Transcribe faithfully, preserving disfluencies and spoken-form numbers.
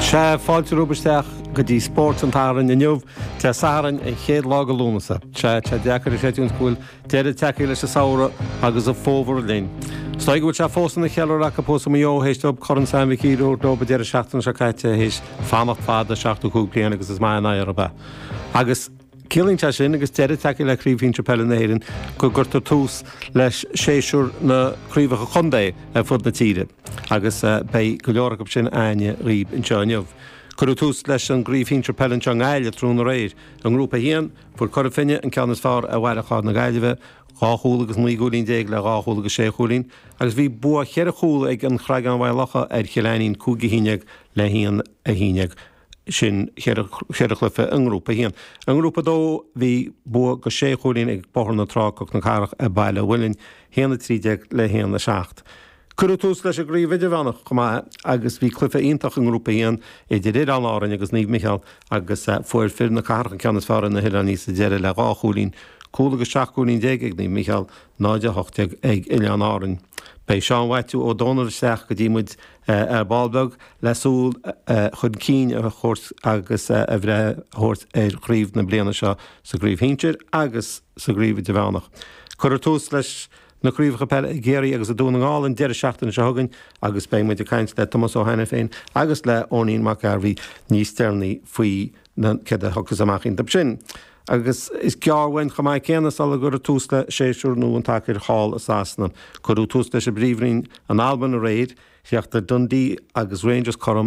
Sea, fáilte romhaibh isteach go dtí Spórt an tSathairn inniu, Dé Sathairn an chéad lá de Lúnasa. Sea, tá sé deacair a chreidiúint go bhfuil deireadh tagtha leis an samhradh agus an fómhar linn. Is dóigh go bhfuil sé fós ina cheiliúradh acu thuas i Maigh Eo théis dóibh Corn Sam Mhic Uidhir a thabhairt leo an deireadh seachtaine seo caite théis fanacht fada seachtó cúig bliain agus is maith an oidhre ab ea. Agus ciallaíonn sé sin agus deireadh tagtha le Craobh Shinsir Peile na hÉireann go gcuirtear tús leis séasúr na craobhacha contae ar fud na tíre agus beidh go leor acu sin againne dhaoibh anseo inniu. Cuireadh tús leis an gCraobh Shinsir Peile anseo i nGaillimh tráthnóna aréir. I ngrúpa a haon, fuair Cora Finne an ceann is fearr ar Bhaile Chláir na Gaillimhe, dhá chúl agus naoi gcúilín déag le dhá chúl agus sé chúilín, agus bhí bua cheithre chúl ag an Chreagán Mhaigh Locha ar Chill Ainnín cúig a haon déag le haon a haon déag. Sin cheithre chluiche i ngrúpa a haon. I ngrúpa a dó bhí bua go sé chúilín ag Bóthar na Trá Cnoc na Cathrach ar Baile an Mhuilinn, haon a trí déag le haon a seacht. Cuireadh tús leis an gcraobh idirmheánach chomh maith agus bhí cluiche iontach i ngrúpa a haon idir Oileáin Árainn agus Naomh Micheál agus fuair fir na cathrach an ceann is fearr ar na hoileánaigh sa deireadh le dhá chúilín, cúl agus seacht gcúilín déag ag Naomh Micheál, náid a hocht déag ag Oileáin Árainn. Beidh Seán Mhaitiú Ó Dónaill isteach go dtí muid ar ball beag le súil chun cinn a thabhairt agus a bhreith a thabhairt ar chraobh na bliana seo sa gcraobh shinsir agus sa gcraobh idirmheánach. Cuirfear tús leis na craobhacha peile i gCiarraí agus i Dún na nGall an deireadh seachtaine seo chugainn agus beidh muid ag caint le Tomás Ó hAiniféin agus le Eoinín Mac Gairbhí níos deireanaí faoi na céard a thiocfas amach iontu sin. Agus is gearr uainn chomh maith céanna sula gcuirfear tús le séasúr nua an tsacair thall i Sasana. Cuireadh tús leis an bPríomhroinn in Albain aréir, chríochnaigh Dundee agus Rangers cothrom